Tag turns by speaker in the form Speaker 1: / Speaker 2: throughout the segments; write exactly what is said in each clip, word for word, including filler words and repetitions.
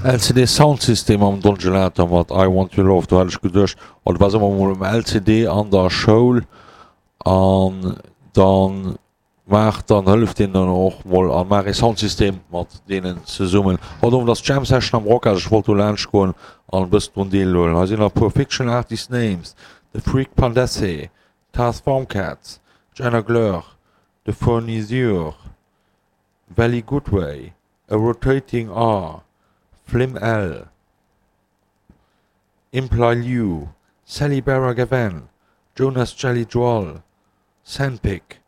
Speaker 1: L C D Soundsystem am Don Gelato mat I Want Your Love. Do hat ech geduecht, oh, du wars ëmmer mol um L C D an der Schoul an dann maach dann, hëllef deenen dann och mol a maach ee Soundsystem mat deenen zesummen. Haut Owend ass d'Jam Session am Rockhal, ech wollt do laanscht goen an e bëssen drun deelhuelen. Hei sinn nach e puer Fictional Artist Names, The Freak Pandesse, Tars Formcats, Jenna Gleur, The Fournisseur, Valley Goodway, A Rotating R, Flim L, Imply Liu, Sally Barra Gavan, Jonas Jelly Joal, Sandpick,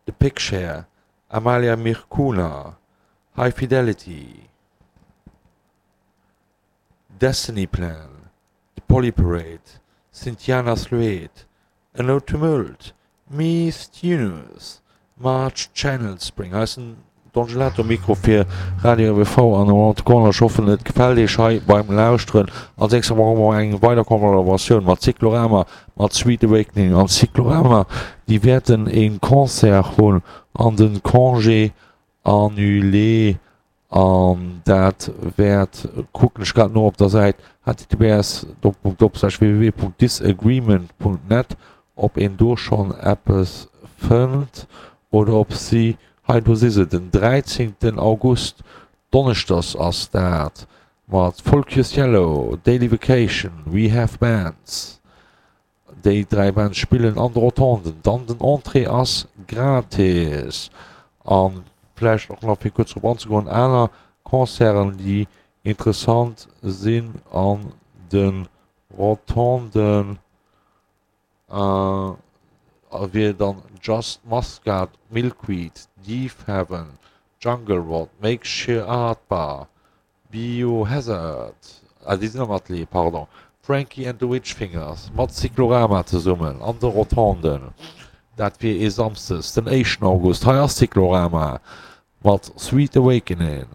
Speaker 1: The Pigshare, Amalia Mirkuna, High Fidelity, Destiny Plan, The Polly Parade, Cynthiana Sluet, A No Tumult, Miss Tunus, March Channel Spring. Hei ass den Don Gelato Mikro fir Radio R W V an Around the Corner. Ech hoffen, et gefält Iech hei beim Lauschteren. Als nächstes hu mer eng weider Kollaboratioun mat Cyclorama, mat Sweet Awakening. An Cyclorama, déi wäerten e Concert hunn an de Congé annulé. An dat wäert, kucken ech grad no op der Säit H T T P S Doppelpunkt Doppelslash W W W Punkt disagreement Punkt net, ob een do schonn eppes fënnt oder ob si, hei do si se, den dräizéngten August, Donneschdes ass dat, mat Folkus Yellow, Daily Vacation, We Have Bands. Déi dräi Bands spillen an de Rotonden. Dann den Entrée ass gratis. A vläicht och nach fir kuerz drop anzegoen, aner Concerten, déi interessant sinn an de Rotonden, wier dann Just Muscat, Milkweed, Deaf Heaven, Jungle Rot, Makeshift Art Bar, Biohazard, ah déi sinn am Atelier, pardon, Frankie and the Witch Fingers mat Cyclorama zesummen an de Rotonden. Dat wier ee Samsdes, den éischten August. Hei ass Cyclorama mat Sweet Awakening.